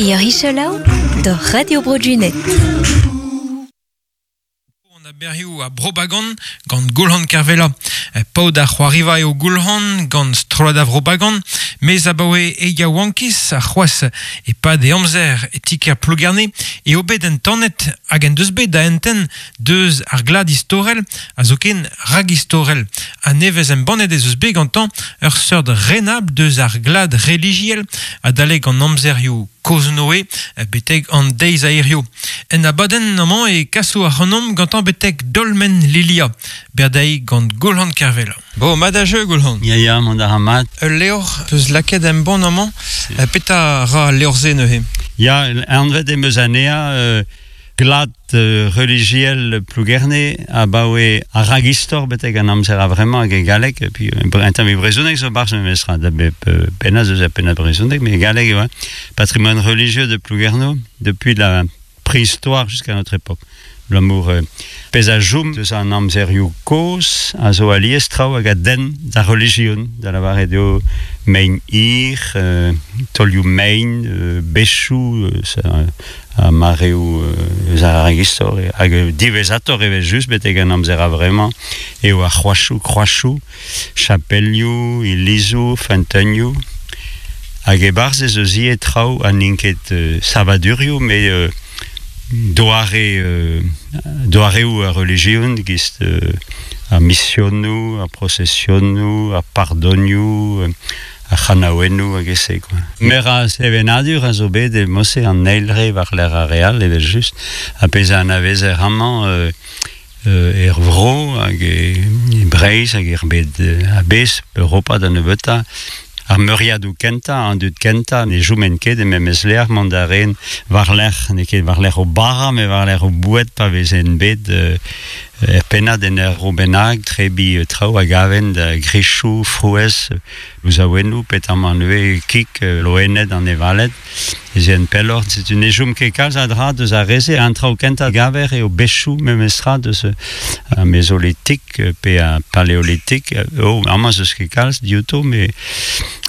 Ur isolaou doc'h Radio Bro Junet. An aberioù a Bro-Bagan gant Goulc'han Kervella. Paotr ar c'hoariva eo Goulc'han gant strollad a Vro-Bagan, mes abaoe e yaouankiz ha c'hoazh e-pad e amzer e ti-kêr Plougerne eo bet entanet hag en deus bet da entent deus ar glad istorel ha zoken ragistorel. A-nevez embannet ez eus bet gantañ ur seurt renabl deus ar glad relijiel adalek an amzerioù kozh-Noe betek an deiz a hiziv. En abadenn amañ e kaso ac'hanomp gantañ betek dolmen Lilia, berdeiz gant Goulc'han Kervella. Bon, mat a jeu, Goulc'han. Ya, ya, mont a ra mat. Ul levr peus lakaet embann amañ. Petra ra al levr-se neuze? Ya, anvet em eus anezhañ euh, Glad relijiel Plougerne abaoe ar ragistor betek an amzer a-vremañ hag e galleg, et puis un tamm e brezhoneg zo barzh memestra, da bep pennad eus ar pennad brezhoneg, mais e galleg eo, Patrimoine religieux de Plouguerneau depuis la préhistoire jusqu'à notre époque. Abalamour pezh a chom eus an amzerioù kozh a zo alies traoù hag a denn d'ar relijion, da lavaret eo mein hir, taolioù mein, bechoù, ha mareoù eus ar ragistor hag diwezhatoc'h evel-just betek an amzer a-vremañ eo ar c'hroachoù, kroachoù, chapelioù, ilizoù, feunteunioù hag e-barzh ez eus ivez traoù ha n'int ket savadurioù met doare doareoù ar relijion gist ar misionoù, ar prosesionoù, ar pardonioù ar c'hanaouennoù hag e-se quoi. Meur a sevenadur a zo bet e mod-se an eil re war-lerc'h ar re all evel-just ha pezh a anavezer amañ er vro hag e Breizh hag er bed a-bezh, Europa da nebeutañ. Ar meuriadoù kentañ, an dud kentañ ne choment ket e memes lec'h mont da ren war-lerc'h, n'eo ket war-lerc'h o bara met war-lerc'h o boued pa vezent bet Er pennad en ur vro bennak, trebiñ traoù a gaven da grechoù, frouezh, louzaouennoù, petamant ivez kig, loened, anevaled. Ez eent pelloc'h, setu ne chom ket kalz a dra deus ar re-se. An traoù kentañ a gaver eo bechoù memestra deus ar mezolitik pe ar paleolitik. Oh, amañ 'z eus ket kalz diouto, met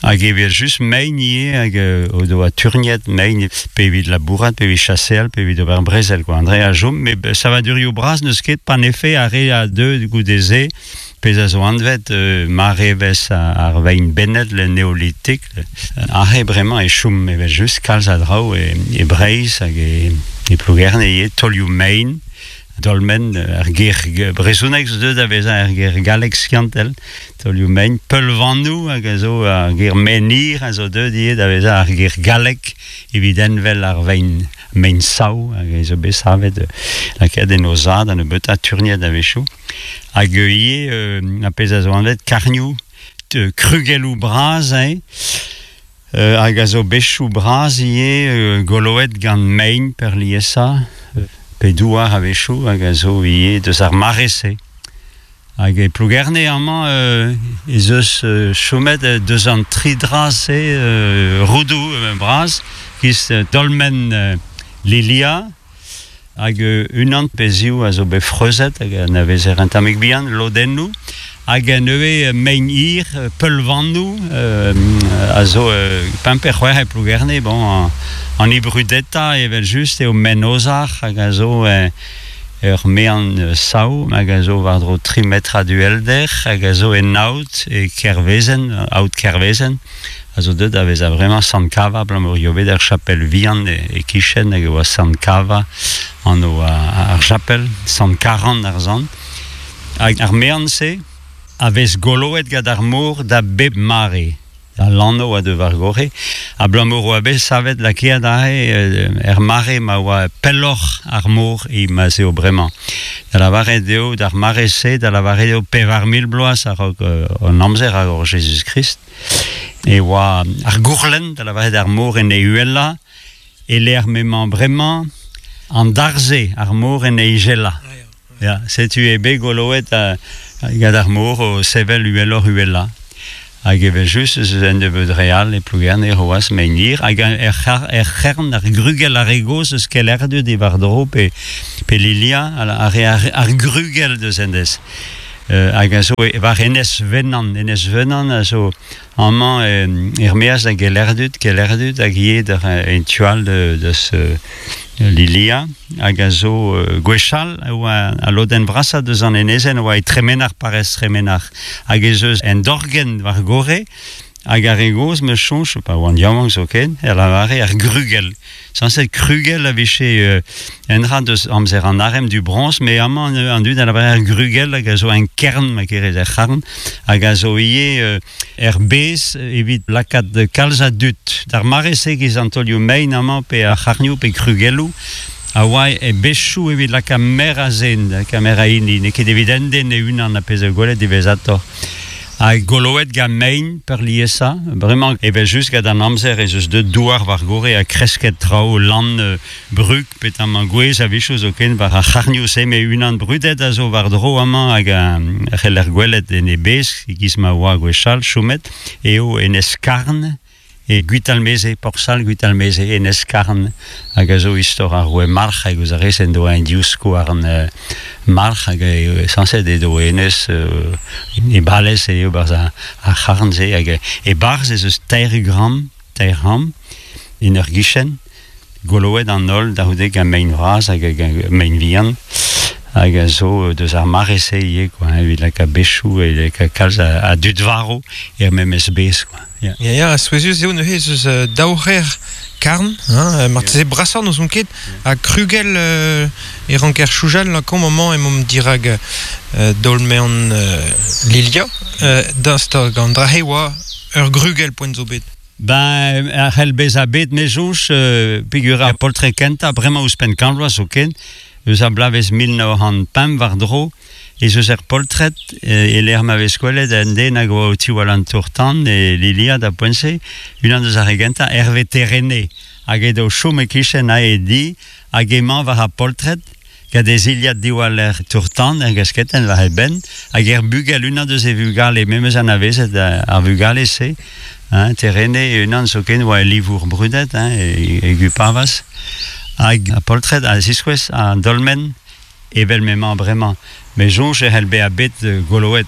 Hag evel-just mein ivez hag o doa turgnet mein pe evit labourat, pe evit chaseal, pe evit ober brezel quoi. An dre a chom, met savadurioù bras n'eus ket panefe ar re a deu goude-se, pezh a zo anvet marevezh ar vein bennet, le néolithique. Aze bremañ e chom evel-just kalz a draoù e Breizh hag e Plougerne ivez, taolioù mein. Dolmen, ar ger brezhonek zo deuet da vezañ ar ger gallek skiantel, taolioù mein, peulvanoù hag a zo ar ger menhir a zo deuet ivez da vezañ ar ger gallek evit envel ar vein mein-sav hag a zo bet savet lakaet en o za da nebeutañ turniet a-wechoù. Hag ivez ar pezh a zo anvet karnioù, krugelloù bras eo. Hag a zo bechoù bras ivez goloet gant mein peurliesañ, pe douar a-wechoù, hag a zo ivez deus ar mare-se. Hag e Plougerne amañ ez eus chomet deus an tri dra-se roudoù bras, giz dolmen Lilia, hag unan pe ziv a zo bet freuzet hag anavezer un tammig bihan lodennoù hag neuze mein-hir peulvanoù a zo pemp pe c'hwec'h e Plougerne bon an brudetañ evel-just eo Menozar hag a zo ur mean sav hag a zo war-dro tri metrad uhelder hag a zo en aod e Kervezen aod Kervezen a zo deuet da vezañ bremañ Sant Kava abalamour eo bet ar chapel vihan e-kichen hag e oa Sant Kava anv ar chapel, Sant Karan ar sant. Hag ar mean-se a vez goloet gant ar mor da bep mare. Al lanv a deu war-gorre, abalamour oa bet savet lakaet aze er mare ma oa pelloc'h ar mor e ma 'z eo bremañ. Da lavaret eo d'ar mare-se, da lavaret eo 4000 bloaz a-raok an amzer a-raok Jezuz-Krist. e oa ar gourlenn, da lavaret ar mor en e uhelañ, e-lec'h m'emañ bremañ an darze, ar mor en e izelañ. Ya, setu eo bet goloet gant ar mor o sevel uheloc'h-uhelañ. Hag evel-just ez eus un nebeud re all e Plougerne c'hoazh mein-hir hag er c'hern, ar grugell ar re gozh eus Kelerdu diwar-dro pe, pe Lilia, ar, ar, ar grugell deus hennezh. Hag a zo war Enez Venan. Enez Venan a zo amañ er-maez da Gelerdud, Kelerdud hag ivez d'ar en tu all deus Lilia, hag a zo gwechall e oa al lodenn vrasañ deus an enezenn a oa e Tremenac'h, parrez Tremenac'h. Hag ez eus un dorgenn war gorre, hag ar re gozh, 'm eus soñj, pa oan yaouank zoken, e lavare ar grugell. Sañset krugell a vije un dra deus amzer an arem du broñs, met amañ an dud a lavar ar grugell hag a zo en kern, ma kerez er c'harn, hag a zo ivez er bez evit lakaat kalz a dud. D'ar mare-se giz an taolioù mein amañ pe ar c'harnioù pe krugelloù a oa e bezhioù evit lakaat meur a zen, lakaat meur a hini, n'eo ket evit un den e-unan a pezh a gwelet diwezhatoc'h. Ha goloet gant mein peurliesañ. Bremañ evel-just gant an amzer ez eus deuet douar war gorre ha kresket traoù, lann, brug, petamant gwez a-wechoù zoken war ar c'harnioù-se met unan brudet a zo war-dro amañ hag a c'heller gwelet en e bezh e-giz ma oa gwechall chomet eo Enez Karn. E Gwitalmeze, Porsal Gwitalmeze, Enez Karn, hag a zo istor ar roue Marc'h, hag eus ar rez en doa un divskouarn Marc'h, hag eo sañset edo enez e balez eo barzh ar c'harn-se, hag e-barzh ez eus teir gramm, teir c'hambr, en ur gichen, goloet an holl da c'houde gant mein vras hag mein vihan, hag a zo deus ar mare-se ivez, quoi, evit lakaat bechoù, evit lakaat kalz a dud varv er memes bez, quoi. Ya, ya, souezhus eo neuze ez eus daou c'her karn, hein, marteze brasoc'h n'ouzon ket, ha krugell e ranker soñjal lakaomp amañ emaomp dirak daol-mean Lilia, daoust hag an dra-se oa ur grugell poent zo bet. Ben, a c'hell bezañ bet, me soñj, peogwir ar poltred kentañ, bremañ ouzhpenn kant vloaz zoken, eus ar bloavezh 1905 war-dro, ez eus er poltred e-lec'h ma vez gwelet un den hag oa o tiwall an tour-tan e Lilia da poent-se, unan eus ar re gentañ, Hervé Terene, hag edo o chom e-kichen ae e di, hag emañ war ar poltred, gant e zilhad diwaller tour-tan er gasketenn war e benn, hag er bugel, unan eus e vugale, memes anavezet ar vugale-se, hein, Terene e-unan zoken oa e livour brudet, hein, e Gupavas, hag ar poltred a ziskouez an dolmen Evel m'emañ bremañ, me soñj e c'hell bezañ bet goloet.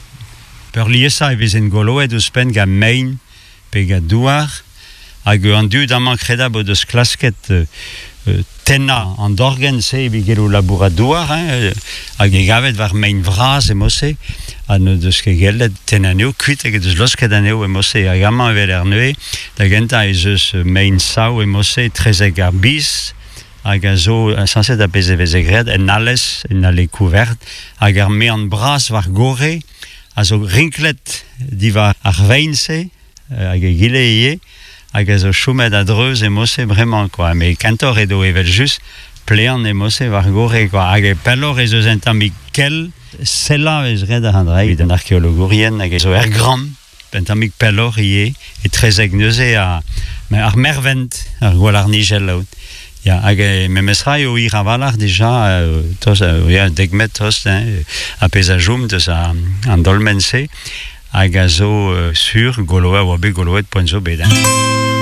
Peurliesañ e vezent goloet ouzhpenn gant mein pe gant douar, hag an dud amañ kredabl o deus klasket tennañ an dorgenn-se evit gellout labourat douar, hein, hag e gavet war mein vras e mod-se, ha n'o deus ket gellet tennañ anezho kuit hag o deus laosket anezho e mod-se. Hag amañ evel er neuze, da gentañ ez eus mein-sav e mod-se etrezek ar biz, hag a zo sañset ar pezh e veze graet en alez, en ale kouvert, hag ar mean bras war gorre a zo rinklet diwar ar vein-se, hag egile ivez, hag a zo chomet a-dreuz e mod-se bremañ kwa. Met kentoc'h edo evel-just plean e mod-se war gorre kwa. Hag pelloc'h ez eus un tammig kell, sellañ a vez graet ar an dra evit an arkeologourien hag a zo er gramm. Un tammig pelloc'h ivez, etrezek neuze ar mervent, ar gwalarnigell out. Ya, hag memestra eo hir a-walc'h dija, tost, ya, dek metr tost, hein, ar pezh a chom deus an dolmen-se, hag a zo sur goloet, a oa bet goloet poent zo bet. Hein.